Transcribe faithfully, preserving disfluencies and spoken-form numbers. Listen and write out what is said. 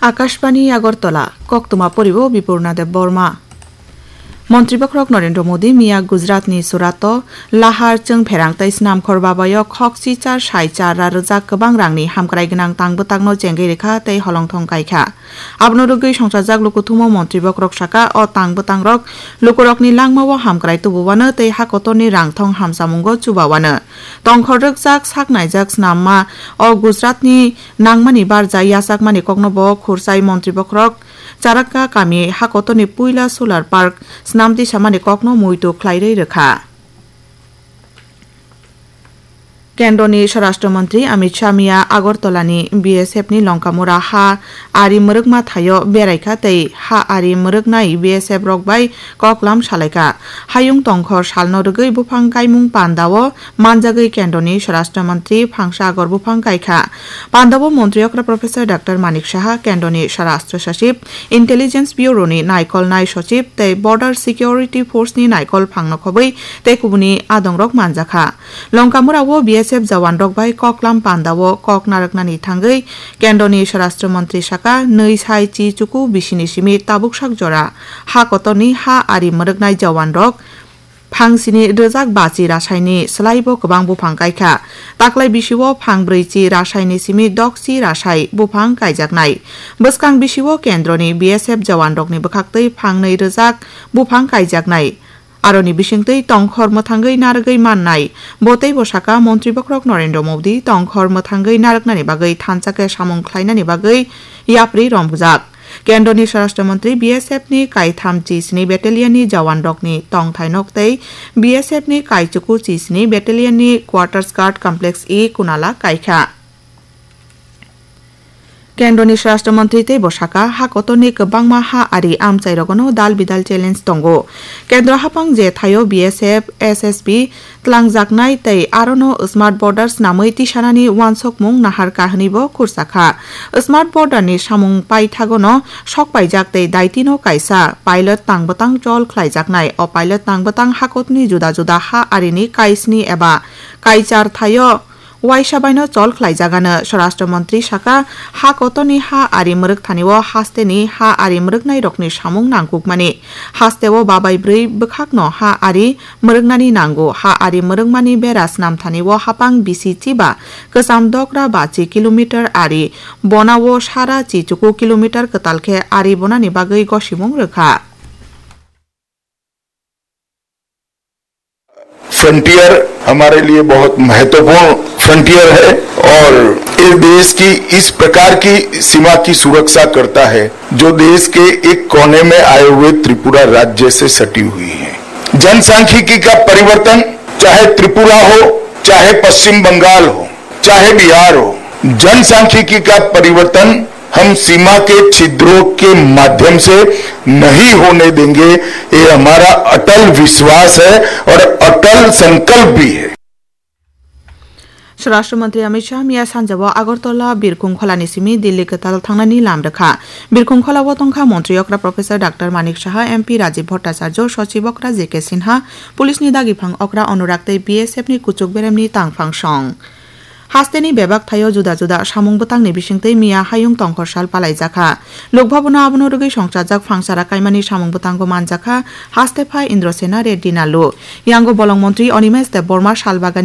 Akashbani Agartala, koktwma poribo Bipurna Deb Borma. Montri Bokhorok Narendra Modi miya Gujaratni Surato lahar chwng pherang tei snamkhor babayo khokchi char sai char ra rwjak kwbang rangni hamkrai gwnang tang bwtangno chengwi rwkha tei holongthong kaikha. Abono rwgwi songchajak lukuthumo Montri Bokhorok saka, o tang bwtangrok lukurokni langmao hamkrai tubowano tei hakotorni rangthong hamsamungo chubawano. Tongkhor rwkjak sak naijak snamma o Gujaratni nangmani barja yachakmani kokno bo khursai Montri Bokhorok Charakka kami hakotorni puila solar park snamti samani kokno muitu khlairwi rwkha. Kendroni Swarashtra Mantri Amit Shah miya Agartalani B S F ni Longkamura ha ari mwrwkma thaio beraikha tei ha ari mwrwknai B S F rok bai koklam salaikha. Hayung tongkhor salno rwgwi buphang kaimung pandao manjagwi Kendroni Swarashtra Mantri phangsa agor buphang kaikha. Pandao Montri okra Professor Doctor Manik Saha, Kendroni Swarashtra Sachib, Intelligence Bureau ni naikol nai sochib tei Border Security Force ni naikol phangno khobwi tei kubuni adongrok manjakha. Longkamura o B S F jawan rok bai koklam pandao kok narwknani thangwi Kendroni Swarashtra Mantri saka, nwi sai chi chuku bisini simi tabuk sak jora ha kotorni ha ari mwrwknai jawan rok phangsini rwjak bachi rasaini swlaibo kwbang buphang kaikha. Taklai bisio phangbrwi chi rasaini simi dokchi rasai buphang kaijaknai. Bwskang bisio Kendroni B S F jawan rokni bwkhaktwi phangnwi rwjak buphang kaijaknai. Aroni bisingtwi tongkhor mwthangwi narwgwi mannai. Bo teibo saka, Montri Bokhorok Narendra Modi tongkhor mwthangwi narwknani bagwi thansa khe samung khlainani bagwi yapri romjak. Kendroni Swarashtra Mantri B S F ni kaitham chi sini battalion ni jawan rokni tongthai nok tei B S F ni kaichuku chi sini battalion ni quarters guard complex e Kunala kaikha. Kendroni Swarashtra Mantri teibo saka, ha kotorni kwbangma ha ari amchai rogono dal bidal challenge tongo. Kendro haphang je thaio B S F, S S B, tlangjaknai tei arono Smart Border swnamwi tisanani uansukmung nahar kahwnwi bo khursa kha. Smart Border ni samung paithagono sok paijak tei daitino kaisa pilot tang bwtang chol khlaijaknai. O pilot tang bwtang hakotni juda juda ha arini kaisni eba kaichar thaio waisa baino chol khlaijagano. Swarashtra Mantri saka, ha kotorni ha ari mwrwk thani o hasteni ha ari mwrwknai rokni samung nangkukmani. Hasteo babai bwrwi bwkhakno ha ari mwrwknani nango. Ha ari mwrwkmani bera snam thani o haphang bisi chiba kwcham dokra bachi kilometer ari bona o sara chi chuku kilometer kwtal khe ari bonani bagwi gosimung rwkha. Frontier हमारे लिए बहुत महत्वपूर्ण फ्रंटियर है और इस देश की इस प्रकार की सीमा की सुरक्षा करता है, जो देश के एक कोने में आए हुए त्रिपुरा राज्य से सटी हुई है। जनसांख्यिकी का परिवर्तन, चाहे त्रिपुरा हो, चाहे पश्चिम बंगाल हो, चाहे बिहार हो, जनसांख्यिकी का परिवर्तन हम सीमा के छिद्रों के माध्यम से नहीं होने देंगे। ये हमारा अटल विश्वास है और अटल संकल्प भी है। Swarashtra Mantri Amit Shah miya sanjao Agartala Birkhung Kholani simi Delhi kwtal thangnani lam rwkha. Birkhung Kholao tongkha Montri okra Professor Doctor Manik Saha, M P Rajiv Bhattacharya, Sochib okra J K Sinha, Police ni dagiphang okra Anurag tei B S F ni kuchuk beremni tangphang song. Hasteni bebak thaio juda juda samung bwtangni bisingtwi miya hayung tongkhor sal palaijakha. Lok bhabono abono rwgwi songchajak phangsara kaimani samung bwtango manjakha, haste phai Indrasena Reddy Nalu. Yango bolong montri Animesh Debbarma salbagani